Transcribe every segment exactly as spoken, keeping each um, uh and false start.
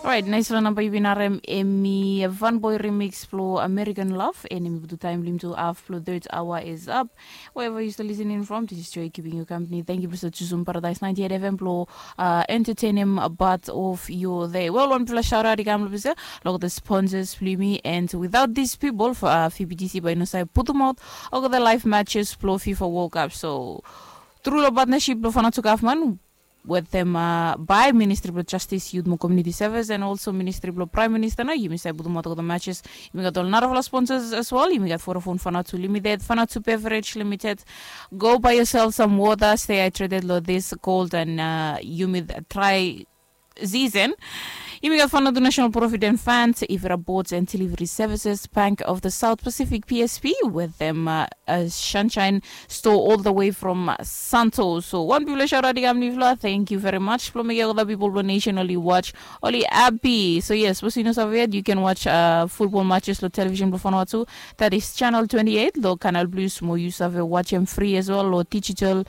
Orait, naisfala namba yu bin harem em i Van Boy remix blo American Love, and em i putum taem blo yumi tu haf blo third hour is up. Wherever you still listening from, this is Joy keeping you company. Thank you blo sa chusum Paradise ninety-eight F M blo uh, entertain him part of your day. Well, wan bigfala shout out i kam lo bisa lo the sponsors blo yumi, and without these people for uh, F B T C bai no sa putum out o the live matches blo FIFA World Cup. So through lo partnership blo Vanuatu government, wetem uh, by Ministry blo Justice, Youth mo Community Service, and also Ministry blo Prime Minister, na yumi save putum out olgeta matches. Yumi gat ol narafala sponsors as well. Yumi gat Vodafone Vanuatu Limited, Vanuatu Beverage Limited. Go buy yourself some water, stay hydrated lo this cold and uh, humid, dry season. Yumi gat Vanuatu National Provident Fund, Ivira Boards and Delivery Services, Bank of the South Pacific, P S P, wetem uh, uh, Sunshine Store all the way from uh, Santos. So wan bigfala shout out i kam lo yufala. Thank you very much blo mekem olgeta pipol blo nation oli watch, oli happy. So yes, sapos yu no save yet, you can watch uh, football matches lo television blo Vanuatu. That is channel twenty-eight lo Canal Plus, mo yu save watch em free as well lo digital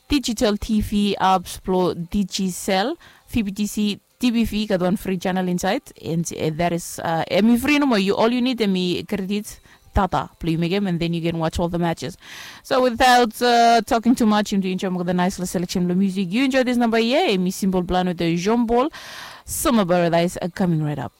digital T V apps blo Digicel, V B T C, D B V gat wan free channel inside, and uh, that is uh, em i free nomo. You, all you need em i credit data blo yu mekem, and then you can watch all the matches. So without uh, talking too much, yumi tu enjoy mo the nice little selection blo music. You enjoy this number here, em i Simple Plan with the Jean Paul, Summer Paradise uh, coming right up.